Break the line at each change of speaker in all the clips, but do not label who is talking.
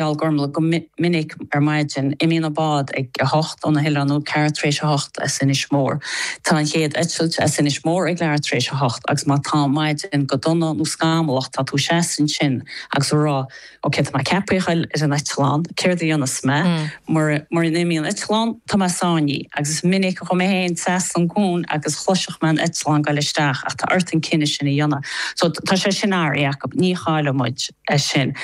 Gormlaith, go minic ar maidin, imíonn an bád ag 8 ó na hoileáin nó ceathrú tar éis a hocht as Inis Mór. Tá an chéad eitilt as Inis Mór ag leathuair tar éis a hocht agus má tá an maidin go dona nó scamallach tá tú seasta ansin agus ag rá ok tá mé ceaptha a ghoil ar an eitleán, céard a dhéanfas mé? Mura n-imíonn an eitleán tá mé sáinnithe agus is minic a chuaigh mé féin trasna an cuan agus chloisfeadh mé an eitleán ag goil isteach ach tá ort an cinneadh sin a dhéanamh. So tá sé sin athraithe acu, ní chaillfidh muid é sin.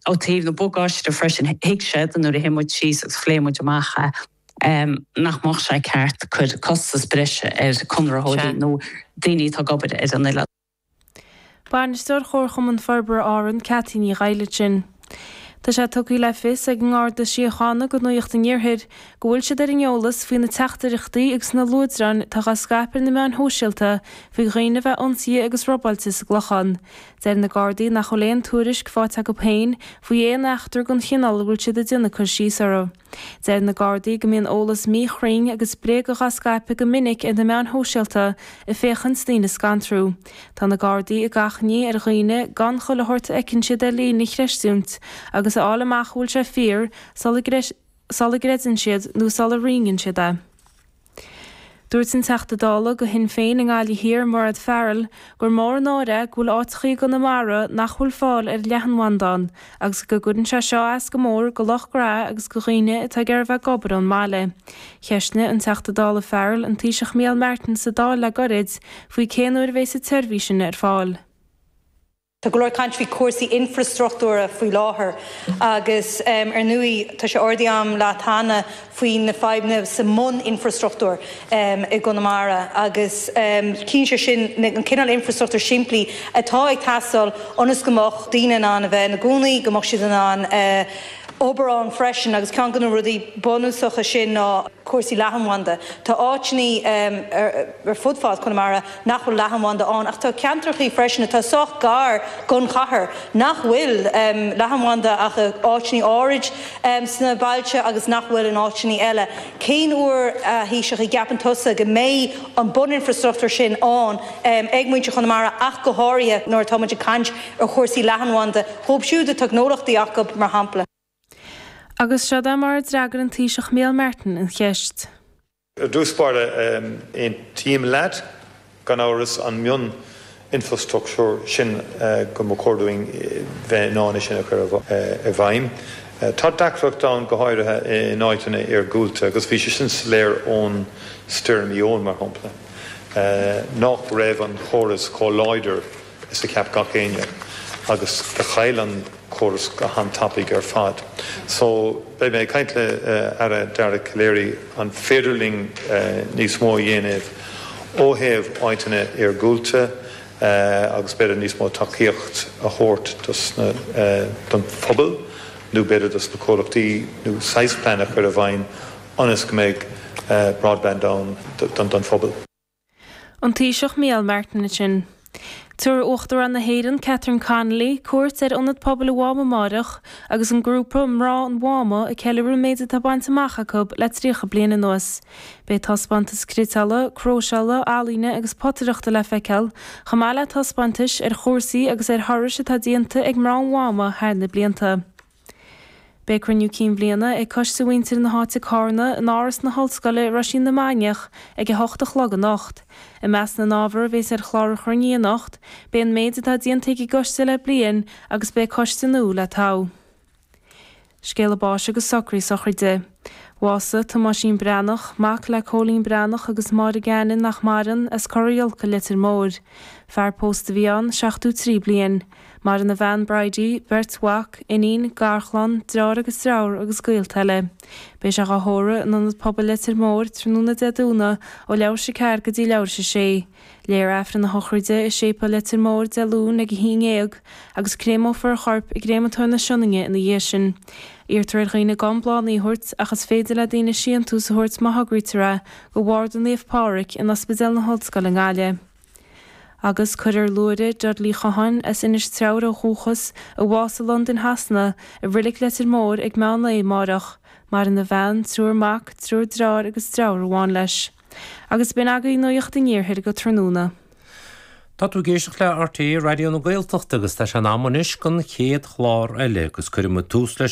Ó taobh na bagáiste freisin, thuig siad nuair a shuigh muid síos agus phléigh muid amach é, nach mbeadh sé ceart cur costas breise ar conraitheoirí nó daoine atá ag obair ar an oileán.
Bainisteoir Chomharchumann Forbartha Árann, Ceaití Ní Dhaighile ansin. Tá sé tugtha le fios ag an nGarda Síochána do Nuacht an Iarthair go bhfuil siad ar an eolas faoi na teachtaireachtaí agus na luaidreáin atá á scaipeadh ar na meáin shóisialta faoi dhaoine a bheith ionsaithe agus robáilte sa gClochán. Deir na Gardaí nach bhfuil aon tuairisc faighte acu féin faoi aon eachtra den chineál a bhfuil siad ag déanamh cur síos orthu. Deir na Gardaí go mbíonn eolas míchruinn agus bréagach á scaipeadh go minic ar na meáin shóisialta ag féachaint daoine a scantrú. Tá na Gardaí ag achainí ar dhaoine gan chuile shórt a fheiceann siad ar líne a chreistiúint agus a fháil amach an bhfuil sé fíor sula sula gcreideann siad nó sula roinneann siad é. Dúirt an Teachta Dála do Shinn Féin i nGaillimh Thiar, Mairéad Farrell, gur mór an náire é go bhfuil áiteachaí i gConamara nach bhfuil fáil ar leathanbhanda ann agus go gcuireann sé seo as go mór do lucht gnó agus do dhaoine atá ag iarraidh bheith ag obair ón mbaile. Cheistnigh an Teachta Dála Farrell an Taoiseach Micheál Martin sa Dáil le gairid faoi cén uair a bheas an tseirbhís sin ar fáil.
Tá go leor caint faoi chúrsaí infreastruchtúra faoi láthair agus ar ndóigh tá sé ardaithe agam leat cheana faoi na fadhbanna sa mbun-infreastruchtúr i gConamara agus ciallaíonn sé sin an cineál infreastruchtúr simplí atá ag teastáil ionas go mbeadh daoine in ann a bheith ina gcónaí, go mbeadh siad in ann obair ann freisin agus ceann de na rudaí bunúsacha sin ná cúrsaí leathanbhanda. Tá áiteanna ar fud fad Chonamara nach bhfuil leathanbhanda ann ach tá ceantrachaí freisin atá sách gar don chathair nach bhfuil leathanbhanda ach i áiteanna áirid sna bailte agus nach bhfuil in áiteanna eile. Cén uair, a Thaoiseach, a gceapann tusa go mbeidh an buninfreastruchtúr sin ann ag muintir Chonamara ach go háirithe nuair atá muid ag caint ar chúrsaí leathanbhanda dhóibh siúd atá gnólachtaí acu, mar shampla?
Agus seod é mar a d'fhreagair an Taoiseach Micheál Martin an cheist.
Ar dtús báire, aontaím leat, gan amhras, an mioninfrastruchtúr sin go mba chóir dúinn bheith in ann é sin a chur i bhfeidhm. Tá deacracht ann, go háirithe in áiteanna iargúlta, agus bhí sé sin soiléir ón Stoirm Éowyn, mar shampla, nach raibh an chóras chomh láidir is a cheap gach éinne agus do chaill an córas go han-tapaidh ar fad. So, beidh mé ag caint le Aire Dara Calleary an féidir linn níos mó a dhéanamh ó thaobh áiteanna iargúlta agus b'fhéidir níos mó tacaíocht a thabhairt dos na, don phobal nó b'fhéidir dos na comhlachtaí nó saghas plean a chur i bhfeidhm ionas go mbeidh broadband ann don phobal.
An Taoiseach Micheál Martin ansin. Tabharfaidh Uachtarán na hÉireann, Catherine Connolly, cuairt ar Ionad Pobail an Mháma amáireach agus an grúpa Mná an Mháma ag ceiliúradh an méid atá bainte amach acu le 30 bliain anuas. Beidh taispeántas cniotála, cróiseála, ealaíne agus potaireachta le feiceáil, chomh maith le taispeántais ar chúrsaí agus ar thurais atá déanta ag mná an Mháma thar na blianta. Beidh cruinniú cinn bhliana ag Coiste Mhuintir na hÁite Cárna in Áras na hOllscoile i Roisín na Mainiach ag 8 a chlog anocht. I measc na n-ábhar a bhéas ar chlár an chruinnithe anocht, beidh an méid atá déanta ag an gcoiste le bliain agus beidh coiste nua le toghadh. Scéala báis agus socruithe sochraide. Bhásaigh Tomáisín Breathnach, mac le Cóilín Breathnach agus Máire Gannon nach maireann, as Cora Iolca, Leitir Móir. Fear pósta a bhí ann, 73 bliain. Maireann a bhean Bridie, beirt mhac, iníon, garchlann, deartháir agus deirfiúr agus gaolta eile. Beidh sé dhá thórramh in Ionad Pobail Leitir Móir tráthnóna Dé Domhnaigh ó leathuair tar éis a 4 go dtí leathuair tar éis a 6. Léifear Aifreann a shochraide i Séipéal Leitir Móir Dé Luain ag 11 agus créamófar a chorp i gCréamatóir na Sionainne ina dhiaidh sin. Iarrtar ar dhaoine gan bláthanna a thabhairt ach is féidir le daoine síntús a thabhairt má thograítear é go Bharda Naomh Pádraig in Ospidéal na hOllscoile i nGaillimh. Agus cuirfear Luaithre Dudley Chatháin, as Inis Treabhair ó dhúchas, a bhásaigh i Londain Shasana, i Reilig Leitir Móir ag meán lae amáireach. Maireann a bhean, triúr mac, triúr deartháir agus deirfiúr amháin leis. Agus b'in agaibh Nuacht an Iarthair go tráthnóna.
Tá tú ag éisteacht le RTÉ Raidió na Gaeltachta agus tá sé in am anois don chéad chlár eile agus cuirfidh muid tús leis an.